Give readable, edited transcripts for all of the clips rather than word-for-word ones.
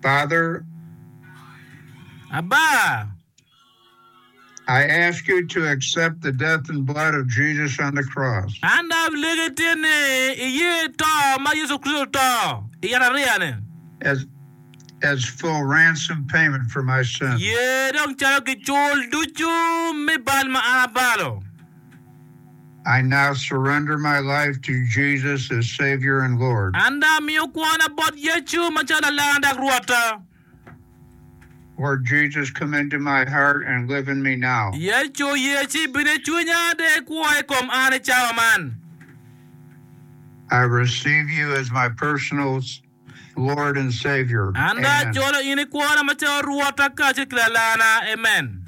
Father, Aba. I ask you to accept the death and blood of Jesus on the cross. An dong alegi tin ni iye to ma Yecu Kricito oto i yatariya-ni. As as full ransom payment for my sins. Ye dong calo gicul ducu me bal ma an abalo. I now surrender my life to Jesus as Savior and Lord. An dong amiyo kwona bot Yecu macalo Lalarna dok Rwotta. Lord Jesus, come into my heart and live in me now. Yecu, ye ci ibin i cwinya dong ikwo i kom an i cawa man. I receive you as my personal Lord and Savior. An dong Amen. ajolo in i kwona macalo Rwotta kacel ki Lalarna. Amen.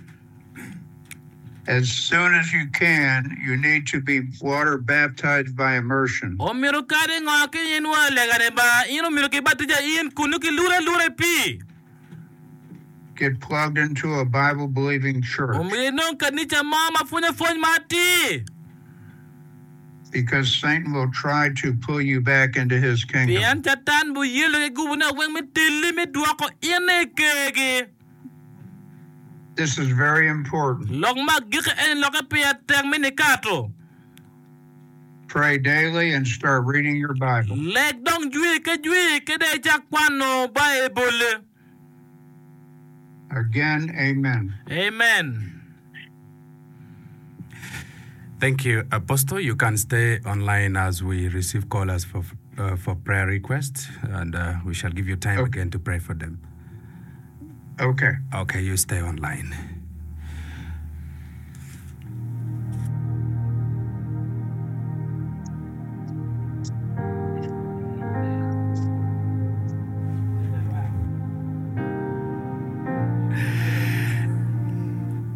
As soon as you can, you need to be water baptized by immersion. Omyero kadi ngo ki in wa lega ni ba in omyero ki batija in kun ki lure alura i pii. Get plugged into a Bible believing church. Omyero inong kanica mo ma pwonyo pwony ma atir. Because Satan will try to pull you back into his kingdom. Pien Catan buyelo ki gubune weng me teli me dwoko in i kergi. This is very important. Lok ma agikki eni lokke pire tek me nikato. Pray daily and start reading your Bible. Leg dong jwi ki jwi ki dong icak kwano Baibulli. Again, amen. Amen. Thank you, Apostle. You can stay online as we receive callers for, uh, for prayer requests, and uh, we shall give you time Okay. again to pray for them. Okay. Okay, you stay online.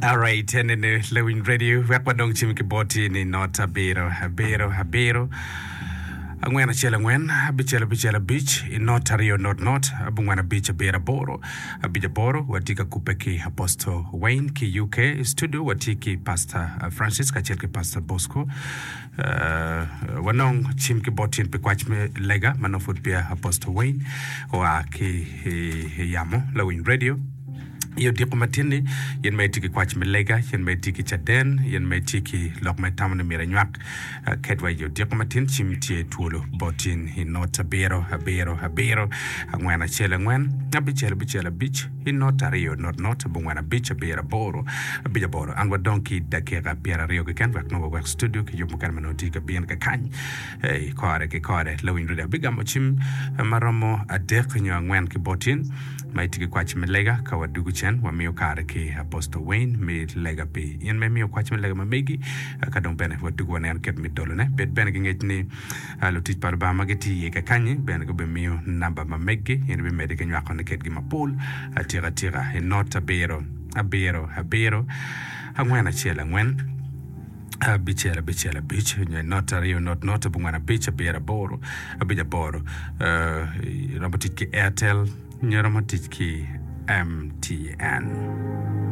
Alright, enene Lewin Radio wek wadong cim ki boti ni not abiro abiro abiro angwen acel angwen abicel abicel abic i not aryo not not abongwen abic abiro aboro abic aboro watye ka kubbe ki Apostle Wayne ki UK i studio watye ki Pastor Francis kacel ki Pastor Bosco Wanong cim ki bot in pi kwac me lega ma nongo pud peya Apostle Wayne oa ki i yamo lawiny radio. I odiko matin-ni, in ma itye ki kwac me lega, in ma itye ki caden, in ma itye ki lok ma itamo ni myero inywak kedwa i odiko matin, cim tye twolo bot in i not abiro abiro abiro angwen acel angwen abicel abicel abic i not aryo not not abongwen abic abiro aboro abic aboro. An wadong ki dakika pyeraryo keken wek nongo wawek studio ki yub mukene ma nongo tye ka bino kakany i kore ki kore. Lawiny radio abigamo cim ma romo adek nyo angwen ki bot in ma itye ki kwac me lega. Ka wadugo cen wamiyo kare ki Apostle Wayne me lega pi in ma imiyo kwac me lega ma megi. Ka dong bene wadugo waneno kit me dolone. Bed bene ki ngec ni Lutic pa Lubanga ma gitye iye kakanyi bene gubimiyo namba ma meggi. In ibimedde ki nywakone kedgi mapol atika tika i not abiro abiro abiro angwen acel angwen abicel abicel abic nyo i not aryo not not abongwen abic abiro aboro abic aboro. Iromo tic ki Airtel nyo iromo tic ki MTN.